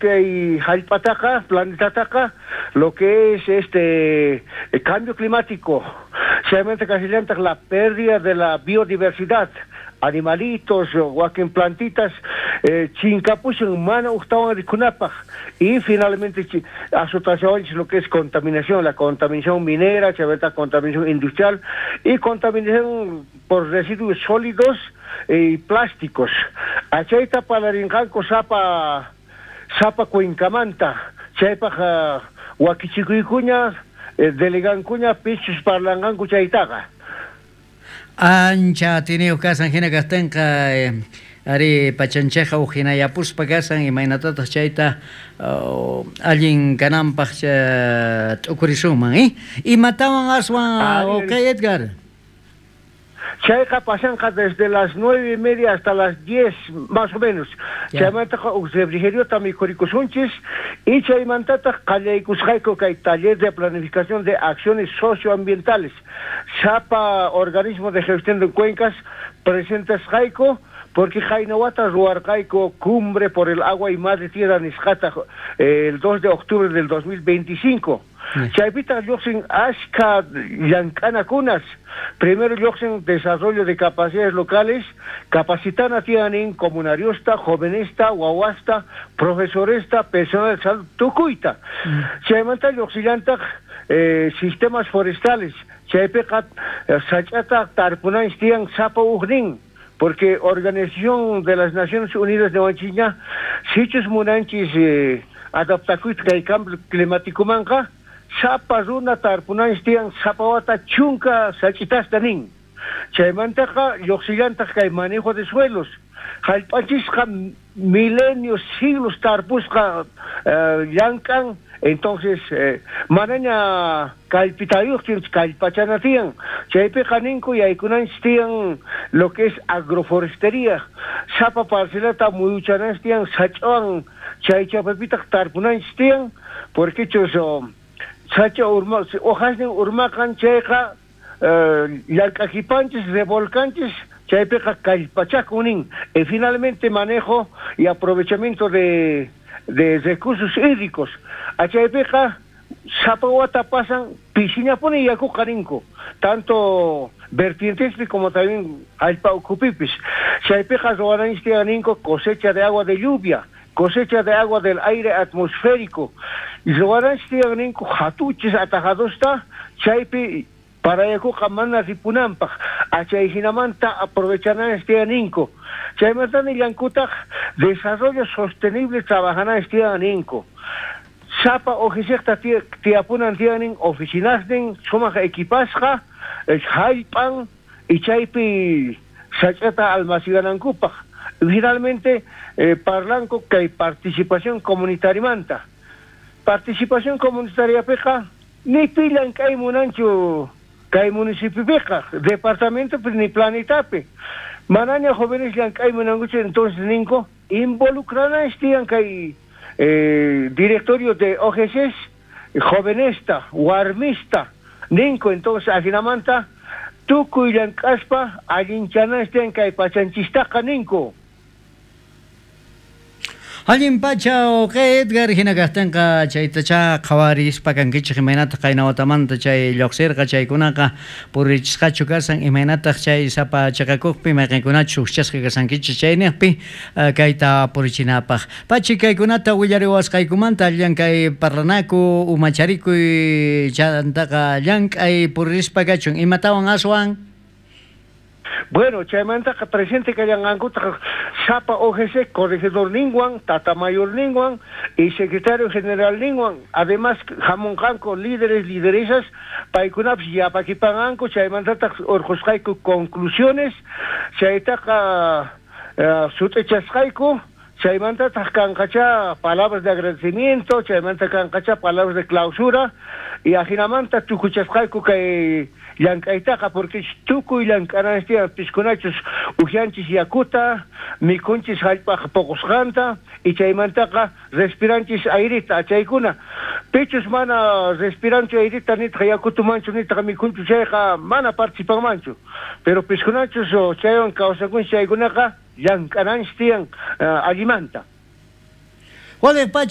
Kay jallp'ataqa, planetataqa, lo que es este cambio climático, chaymanta kashallantaq la pérdida de la biodiversidad, animalitos, wakin plantitas chinkapushan mana ujtawan rikunapaj, y finalmente azotashawanchis lo que es contaminación, la contaminación minera, chaymanta contaminación industrial y contaminación por residuos sólidos y plásticos. Achayta parlarinqanku sapa sapa cuencamanta, chaypaj wakichikuykuña, delegankuña pichus parlanqanku chaytaqa. Ancha atiyniyuq kasan hina kaqtinqa, ari, pachanchikqa huk hinayapuspa kasan, imaynatataq chayta allin kananpaq t'ukurisunman, eh? Imatawan aswan, okay, Edgar? Chayqa pasanqa desde las 9:30 hasta las 10 más o menos. Chaymantaqa uj refrigeriota mikhurikusunchis y chaymantataq qallaykusqayku kay taller de planificación de acciones socioambientales. Sapa organismo de gestión de cuencas presentasqayku, porque qayna wata ruwarqayku Cumbre por el Agua y Madre Tierra nisqata el 2 de octubre del 2025. Chaypitaq lluqsin ashkha llank'anakunas. Primero lluqsin desarrollo de capacidades locales, capacitana tiyanin comunariosta, jovenesta, wawasta, profesoresta, personal de salud, tukuyta. Chaymanta lluqsillantaq sistemas forestales, chaypiqa sach'ata tarpunanchis tiyan sapa ujnin, porque Organización de las Naciones Unidas niwanchikña, sichus munanchis adaptakuyta kay cambio climáticomanqa, sapa runa tarpunanchis tiyan sapa wata 10 sach'itasta nin. Chaymantaqa lluqsillantaq kay manejo de suelos, jallp'anchisqa milenios, siglos tarpusqa llank'an, entonces manaña kallpitayuqchu, kallpachana tiyan. Chaypiqa ninku yaykunanchis tiyan lo que es agroforestería, sapa parcelata muyuchananchis tiyan sach'awan, chay chapapitaq tarpunanchis tiyan, porque chus sacha urma, hojasnin urmaqan chayqa llank'akipanchis, revolcanchis, chaypiqa kallpachakun nin. Y finalmente manejo y aprovechamiento de recursos hídricos. Achaypiqa sapa wata pasan pishiñapuni yakuqa ninku, tanto vertientespi como también allpa ukhupipis. Chaypiqa ruwananchis tiyan ninku cosecha de agua de lluvia, cosecha de agua del aire atmosférico. Ruwananchis tiyan ninku hatuchis atajadosta, chaypi para yakuqa mana ripunanpaq, achay hinamanta aprovechananchis tiyan ninku. Chaymanta nillankutaq desarrollo sostenible trabajananchis tiyan ninku. Sapa OGCta tiyapunan tiyanin oficinasnin sumaq equipasqa, jallp'an y chaypi sach'ata almacenanankupaq. Finalmente parlanku kay participación comunitariamanta. Participación comunitariapiqa ni pi llank'ay munanchu kay municipiopiqa, departamentopi ni planetapi. Manaña jóvenes llank'ay munankuchu, entonces ninku involucrananchis tiyan kay directorio de OGCs, jovenesta, warmista, ninku, entonces ajinamanta tukuy llank'aspa allinchananchis tiyan kay pachanchistaqa ninku. Allin pacha uqay Edgar, hina kaqtinqa chaytacha qhawarispa kankichik imaynataq qayna watamanta chay lluqsirqa chaykunaqa purichisqachu kasan, imaynataq chay sapa chiqakuqpi mayqinkunachus hukchasqa kasankichik chayniqpi kayta purichinapaq. Pachi kaykunata willariwasqaykumanta llank'ay parlanaku umacharikuy chantaqa llank'ay puririspa kachun, imatawan aswan? Bueno, chaymantaqa presente kallanqankutaq sapa OGC corregidor ninwan, tata mayor ninwan y secretario general ninwan. Además, hamunqanku líderes, lideresas, paykunapis yapakipanqanku, chaymantataq urqusqayku conclusiones, chaytaqa sut'ichasqayku, chaymantataq kanqacha palabras de agradecimiento, chaymanta kanqacha palabras de clausura, y ajinamanta tukuchasqayku kay llank'aytaqa, porque tukuy llank'ananchis tiyan, piskunachus ujyanchis yakuta, mikhunchis jallp'aq puqusqanta, y chaymantaqa respiranchis airita, chaykuna. Pichus mana respiranchu airita, nitaq yakutumanchu, nitaq mikhunchu chayqa mana participanmanchu. Pero piskunachus chaywan kawsakunchis chaykunaqa llank'ananchis tiyan allimanta. Waliq pacha.